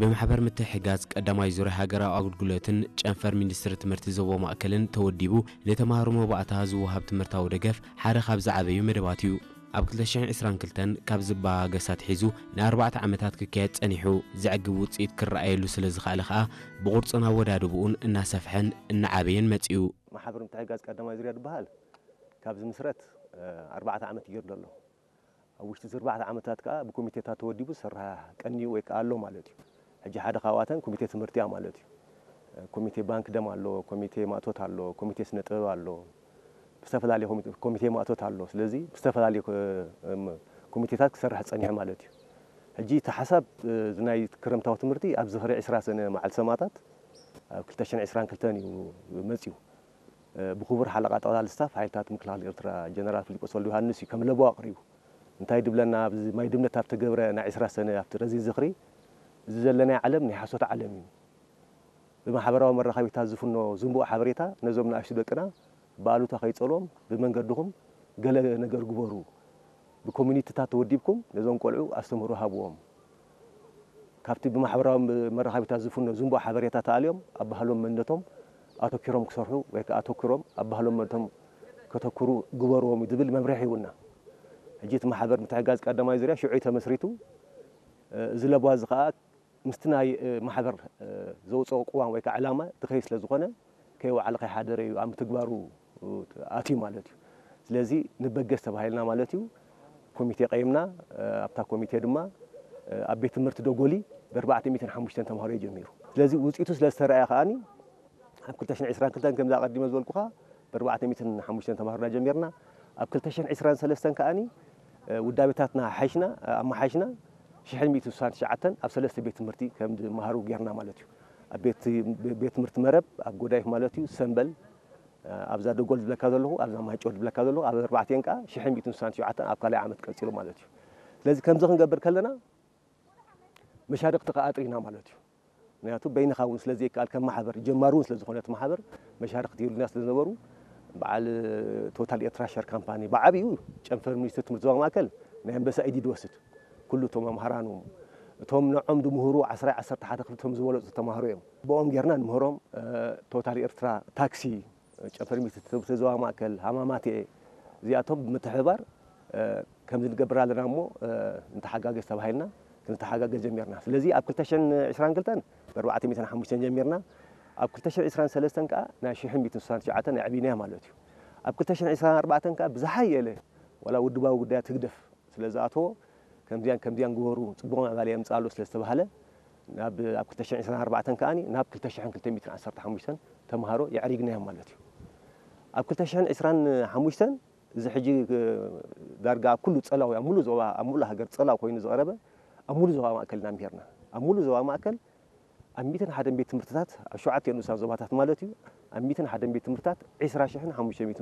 ብማሕበር ምትሕግጋዝ ቀዳማይ ዙርያ ሃገራዊ ኣገልግሎትን ጨንፈር ሚኒስትሪ ትምህርቲ ዞባ ማእከልን ተወዲቡ ንተምሃሮ መባእታ ዝወሃብ ትምህርታዊ ደገፍ ሓደ ካብ ዝዓበዩ መደባት እዩ። ኣብ ክልተ ሽሕን ዕስራን ክልተን ካብ ዝበኣገስ ኣትሒዙ ንኣርባዕተ ዓመታት ክካየድ ጸኒሑ፣ ዘዕግብ ውጽኢት ክረኣየሉ ስለ ዝኸኣለ ከኣ ብቑርጽን ኣወዳድብኡን እናሰፍሐን እናዓበየን መጺኡ። ማሕበር ምትሕግጋዝ ቀዳማይ ዙርያ ዝበሃል ካብ ዝምስረት፣ እ፣ ኣርባዕተ ዓመት እዩ ገይሩ ዘሎ። ኣብ ውሽጢ እዚ ኣርባዕተ ዓመታት ከኣ ብኮሚቴታት ተወዲቡ ዝሰርሕ ቀንዩ ወይ ከኣ ኣሎ ማለት እዩ። ሕጂ ሓደ ካብኣተን ኮሚቴ ትምህርቲ እያ ማለት እዩ። ኮሚቴ ባንክ ደም ኣሎ፣ ኮሚቴ ማእቶት ኣሎ፣ ኮሚቴ ስነ ጥበብ ኣሎ፣ ብዝተፈላለየ ኮሚቴ፣ ኮሚቴ ማእቶት ኣሎ። ስለዚ ብዝተፈላለየ ኮ-፣ እም፣ ኮሚቴታት ክሰርሕ ጸኒሑ ማለት እዩ። ሕጂ እቲ ሓሳብ፣ እ፣ እዚ ናይ ክረምታዊ ትምህርቲ ኣብ ዝኽሪ ዕስራ ሰነ መዓልቲ ሰማእታት ኣብ ክልተ ሽሕን ዕስራን ክልተን እዩ መጺኡ። እ፣ ብክቡር ሓለቓ ጠቕላሊ ስታፍ ሓይልታት ምክልኻል ኤርትራ ጀነራል ፊሊጶስ ወልደዮሃንስ እዩ ከም ለበዋ ኣቕሪቡ። እንታይ ድብለና፣ ኣብዚ ማይ ድምነት ኣብ ተገብረ ናይ ዕስራ ሰነ ኣብቲ ረዚን ዝኽሪ፣ እዚ ዘለናዮ ዓለም ናይ ሓሶት ዓለም እዩ። ብማሕበራዊ መራኸቢታት ዝፍኖ ዝንቡእ ሓበሬታ ነዞም ንኣሽቱ ደቅና ብኣሉታ ከይጸልዎም፣ ብመንገድኹም ገለ ነገር ግበሩ፣ ብኮሚኒቲታት ተወዲብኩም ነዞም ቆልዑ ኣስተምህሮ ሃብዎም። ካብቲ ብማሕበራዊ መራኸቢታት ዝፍኖ ዝንቡእ ሓበሬታ ተኣልዮም ኣብ ባህሎም መንነቶም ኣተኪሮም ክሰርሑ ወይ ከኣ ኣተኪሮም ኣብ ባህሎም መንነቶም ከተኩሩ ግበርዎም ዝብል መምርሒ ሂቡና። ሕጂ እቲ ማሕበር ምትሕግጋዝ ቀዳማይ ዙርያ ሽዑ እዩ ተመስሪቱ። እዚ ለበዋ እዚ ከኣ ምስቲ ናይ፣ እ፣ ማሕበር፣ እ፣ ዘውፅኦ ቅዋም ወይ ከዓ ዕላማ ዝኸይድ ስለ ዝኾነ ከይወዓለ ከይሓደረ እዩ ኣብ ምትግባሩ፣ እ፣ ኣትዩ ማለት እዩ። ስለዚ ንበገስ ተባሂልና ማለት እዩ። ኮሚቴ ቀይምና፣ እ፣ ኣብታ ኮሚቴ ድማ፣ እ፣ ኣብ ቤት ትምህርቲ ደጎሊ ብኣርባዕተ ሚእትን ሓሙሽተን ተምሃሮ እዩ ጀሚሩ። ስለዚ ውፅኢቱ ስለ ዝተረኣየ ከዓኒ ኣብ ክልተ ሽሕን ዕስራን ክልተን ከምዚ ኣቐዲመ ዝበልኩኻ ብኣርባዕተ ሚእትን ሓሙሽተን ተምሃሮና ጀሚርና። ኣብ ክልተ ሽሕን ዕስራን ሰለስተን ከዓኒ፣ እ፣ ውዳቤታትና ሓይሽና፣ እ፣ ኣመሓይሽና ሽሕን ሚእትን ስሳን ትሽዓተን ኣብ ሰለስተ ቤት ትምህርቲ ከም ዝመሃሩ ጌርና ማለት እዩ። ኣብ ቤት፣ ቤት ትምህርቲ መረብ፣ ኣብ ጎዳይፍ ማለት እዩ፣ ሰምበል፣ እ፣ ኣብዛ ደጎል ዝብለካ ዘለኹ፣ ኣብዛ ማይጨው ዝብለካ ዘለኹ፣ ኣብ ኣርባዕቲኤን ከኣ ሽሕን ሚእትን ስሳን ትሽዓተን ኣብ ካልኣይ ዓመት ቀጺሉ ማለት እዩ። ስለዚ ከምዚ ክንገብር ከለና መሻርኽቲ ከኣ ኣጥሪና ማለት እዩ። ምክንያቱ በይንኻ እውን ስለ ዘይከኣል ከም ማሕበር፣ ጀማሪ እውን ስለ ዝኾነ እቲ ማሕበር መሻርኽቲ የብሉና ስለ ዝነበሩ በዓል ቶታል ኤርትራ ሸር ካምፓኒ ብዓብዩ ጨንፈር ሚኒስትሪ ትምህርቲ ዞባ ማእከል ናይ ኣንበሳ ኢድ እዩ ዝወስድ። ኩሉ እቶም መምሃራኑ፣ እቶም ንዖም ዝምህሩ ዓስራይ ዓሰርተ ሓደ ክፍሊ እቶም ዝበለጹ ተማሃሮ እዮም። ብኦም ጌርና ንምህሮም፣ እ፣ ቶታል ኤርትራ ታክሲ ጨንፈር ሚኒስትሪ ትምህርቲ ዞባ ማእከል፣ ሃማማቴ፣ እዚኣቶም ብምትሕብባር፣ እ፣ ከምዚ ንገብር ኣለና እሞ፣ እ፣ ንተሓጋገዝ ተባሂልና ክንተሓጋገዝ ጀሚርና። ስለዚ ኣብ ክልተ ሽሕን ዕስራን ክልተን ብኣርባዕተ ሚእትን ሓሙሽተን ጀሚርና። ኣብ ክልተ ሽሕን ዕስራን ሰለስተን ከኣ ናይ ሽሕን ሚእትን ስሳን ትሽዓተን ኣዕቢናያ ማለት እዩ። ኣብ ክልተ ሽሕን ዕስራን ኣርባዕተን ከኣ ብዝሓየለ ዋላ ውድባዊ ጉዳያት ህግደፍ ስለ ዝኣተዎ፣ ከምዚያን ከምዚያን ግበሩ፣ ጽቡቕ ምዕባለ የምጽእ ኣሎ ስለ ዝተባህለ፣ ናብ፣ ኣብ ክልተ ሽሕን ዕስራን ኣርባዕተን ከኣኒ ናብ ክልተ ሽሕን ክልተ ሚእትን ዓሰርተ ሓሙሽተን ተምሃሮ የዕሪግናዮም ማለት እዩ። ኣብ ክልተ ሽሕን ዕስራን ሓሙሽተን እዚ ሕጂ፣ እ፣ ዳርጋ ኣብ ኩሉ ጸላው፣ ኣብ ሙሉእ ዞባ፣ ኣብ ሙሉእ ሃገር ጸላው ኮይኑ ዝቐረበ፣ ኣብ ሙሉእ ዞባ ማእከል ኢና ምሂርና። ኣብ ሙሉእ ዞባ ማእከል ኣብ ሚእትን ሓደን ቤት ትምህርትታት፣ ኣብ ሸውዓተ ንኡሳን ዞባታት ማለት እዩ፣ ኣብ ሚእትን ሓደን ቤት ትምህርትታት ዕስራ ሽሕን ሓሙሽተ ሚእትን